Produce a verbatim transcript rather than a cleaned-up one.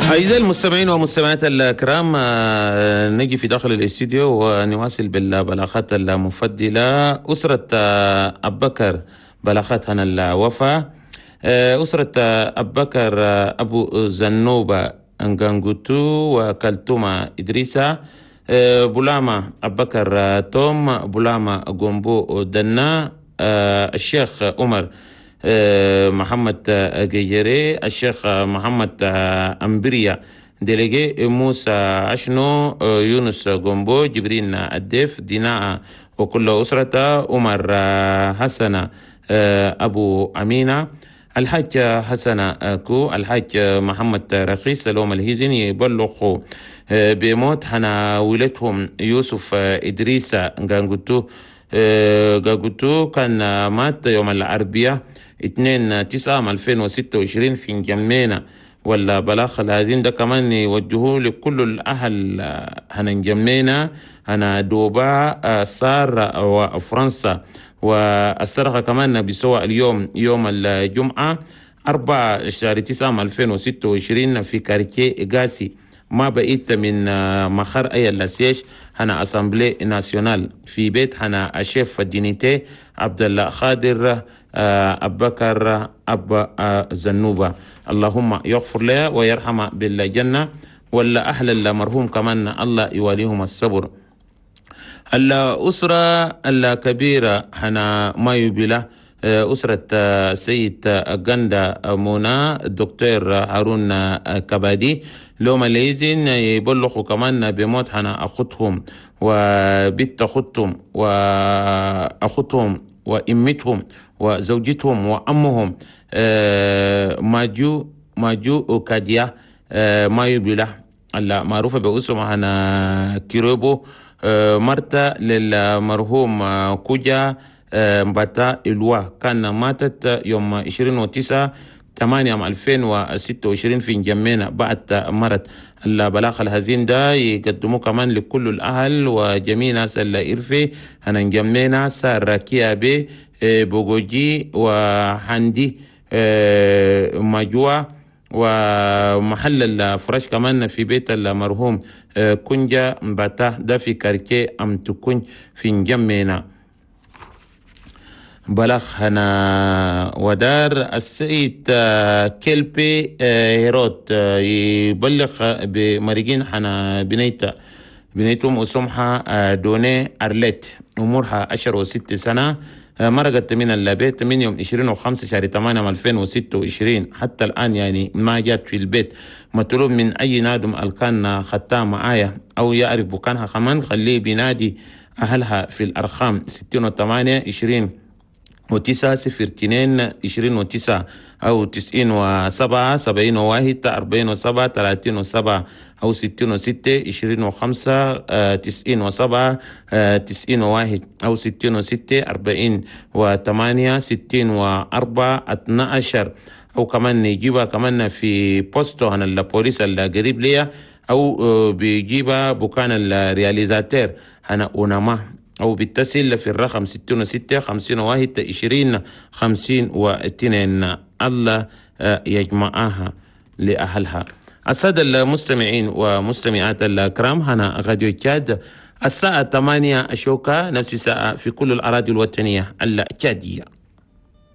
أعزائي المستمعين والمستمعات الكرام، نجي في داخل الاستديو ونواصل بالبلاغات المفضلة. أسرة أبو بكر بلاغات هنا الوفاة. أسرة أبو بكر أبو زنوبة أنغانغوتو وكالتوما إدريسا، بولاما أبو بكر توم، بولاما غومبو دنا، الشيخ عمر محمد جيري، الشيخ محمد أمبريا délégué، موسى أشنو، يونس غومبو، جبرين الديف ديناء وكل أسرته، عمر حسن أبو أمينة، الحاج حسن كو، الحاج محمد رخيص لوم الهيزن يبلغوا بموت حنا ولدهم يوسف إدريس غانغوتو غانغوتو كان مات يوم الأربعاء اثنين تسعة ألفين وستة وعشرين في نجمينا. ولا بلاغ الهزين ده كمان يوجهوه لكل الأهل هنا نجمينا هنا دوبا صار وفرنسا. والسرقة كمان بسوى اليوم يوم الجمعة أربعة شهر تسعة ألفين وستة وعشرين في quartier غاسي ما بقيت من مخر أي ال siège هنا Assemblée nationale في بيت هنا ال chef d'unité عبد القادر أبو بكر أبا زنوبة. اللهم يغفر له ويرحمه بالجنة، ولا أهل المرحوم كمان الله يواليهم الصبر. الأسرة الكبيرة هنا ما يبلا أسرة سيد غندا مونا الدكتور هارون كبادي لو ماليزين يبلغوا كمان بموت هنا أخوتهم وبنت أخوتهم وأخوتهم وإمتهم وزوجتهم وأمهم ماجو ماجو كاديا ما يبلا المعروفة باسمها هنا كيروبو، مرتا للمرحوم كوجا مباتا إلوا كان ماتت يوم عشرين وتسعة ثمانية ألفين وستة وعشرين في نجمينا بعد مرض. البلاغ الهزين ده يقدموه كمان لكل الأهل وجميع ناس الإرفي هنا نجمينا سار كيابي بوغوجي وحندي ماجوا ومحل الفراش كمان في بيت المرحوم كونجا مباتا ده في quartier أم تكون في نجمينا. بلغ هنا ودار السيد كيلبي هيروت يبلغ بمريجين حنا بنيتا بنيتهم اسمها دوني أرليت عمرها عشر وست سنة، مرقت من البيت من يوم عشرين وخمسة شهر ثمانية ألفين وستة وعشرين حتى الآن، يعني ما جات في البيت. مطلوب من أي نادم الكان خطاه معايا أو يعرف بكانها كمان خليه بينادي أهلها في الأرقام ستين وثمانية عشرين وتسعة صفر اثنين عشرين وتسعة أو تسعين وسبعة سبعين وواحد أربعين وسبعة ثلاثين وسبعة أو ستين وستة عشرين وخمسة تسعين وسبعة تسعين وواحد أو ستين وستة أربعين وثمانية ستين وأربعة اثنا عشر أو كمان نجيبها كمان في poste هنا البوليس القريب ليا أو بيجيبها بكان ال réalisateur هنا أونما أو بيتصل في الرقم ستين وستة خمسين وواحد عشرين خمسين واثنين. الله يجمعها لأهلها. السادة المستمعين ومستمعات الكرام، هنا راديو تشاد الساعة ثمانية أشوكا نفس الساعة في كل الأراضي الوطنية التشادية.